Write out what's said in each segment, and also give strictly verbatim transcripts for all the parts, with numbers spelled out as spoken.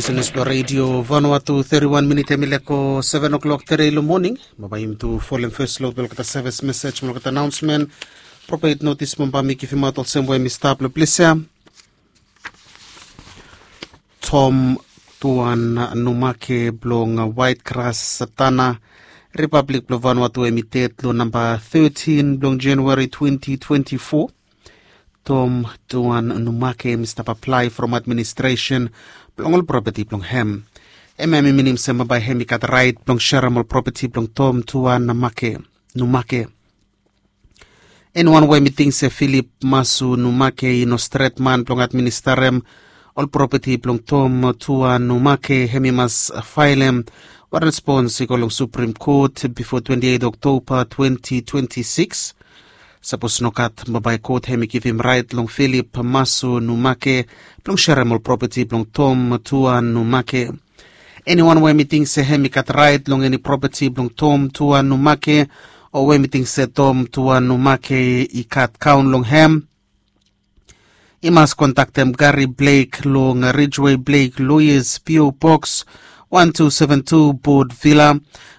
News blong redio Vanuatu, thirty-one minit hemi leko seven o'clock tere long moning. Bambae yumi tu folem fes lot blong olgeta sevis mesej mo olgeta anaonsmen. Propet notis bambae mi givimaot olsem we mi stap long ples ya. Tom Tuan Numake blong Waet Gras Satana, Ripablik blong Vanuatu, hemi ded long namba thirteen blong Januari twenty twenty-four. Tom Tuan Numake hemi stap aplae from administresen blong ol propeti blong hem. Hemia hemi minim se bambae hemi gat raet blong serem ol propeti blong Tom Tuan Numake. Eniwan we hemi ting se Filip Masu Numake i no stret man blong administarem ol propeti blong Tom Tuan Numake, hemi mas faelem wan respons i go long Suprem Kot bifo twenty-eight Oktoba twenty twenty-six. Sapos nogat, bambae kot hemi givim raet long Filip Masu Numake blong serem ol propeti blong Tom Tuan Numake. Eniwan we hemi ting se hemi gat raet long eni propeti blong Tom Tuan Numake, o we hemi ting se Tom Tuan Numake i gat kaon long hem, i mas kontaktem Gary Blake long Ridgeway Blake Lawyers, P O Box one two seven two, Port Vila.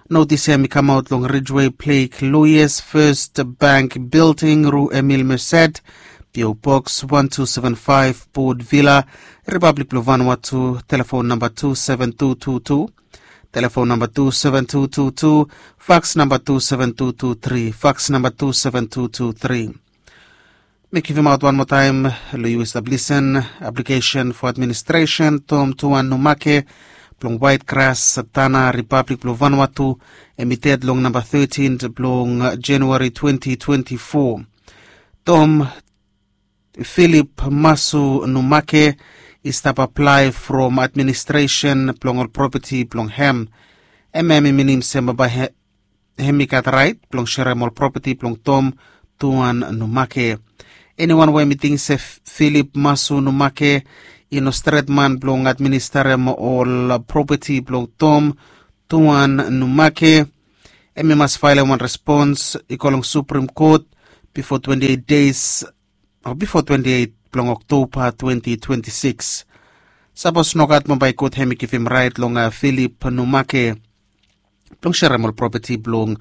Notis ya hemi kamaot long Ridgeway Blake Lawyers, First Bank Building, Rue Emile Merced, P O Box one two seven five, Port Vila, Ripablik blong Vanuatu. Telefon namba two seven two two two, telefon namba two seven two two two, faks namba two seven two two tri, faks namba two seven two two tri. Mi givimaot wan moa taem long yu we stap lisen. Aplikesen fo administresen Tom Tuan Numake blong Waet Gras Satana, Ripablik blong Vanuatu, hemi ded long namba thirteen blong Januari twenty twenty-four. Tom Filip Masu Numake i stap aplae from administresen blong ol propeti blong hem. Hemia hemi minim se bambae hemi gat raet blong serem ol propeti blong Tom Tuan Numake. Eniwan we hemi ting se Filip Masu Numake i no stret man blong administarem ol propeti blong Tom Tuan Numake, hemi mas faelem wan respons i go long Suprem Kot bifo twenty-eight days o bifo twenty-eight blong Oktoba twenty twenty-six. Sapos nogat, bambae kot hemi givim raet long Filip Numake blong serem ol propeti blong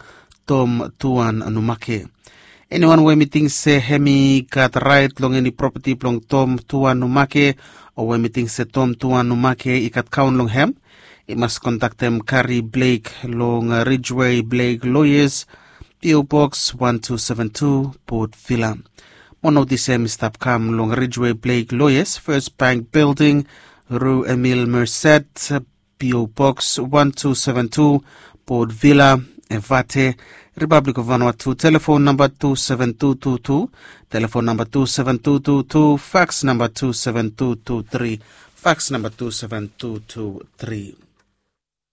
Tom Tuan Numake. Eniwan we hemi ting se hemi gat raet long eni propeti blong Tom Tuan Numake, o we hemi ting se Tom Tuan Numake i gat kaon long hem, i mas kontaktem Gary Blake long Ridgeway Blake Lawyers, P O Box one two seven two, Port Vila. Mo notis ya hemi stap kam long Ridgeway Blake Lawyers, First Bank Building, Rue Emile Merced, P O Box one two seven two, Port Vila, Evate, Ripablik of Vanuatu. Telefon namba two seven two two two, telefon namba two seven two two two, faks namba two seven two two tri, faks namba two seven two two tri.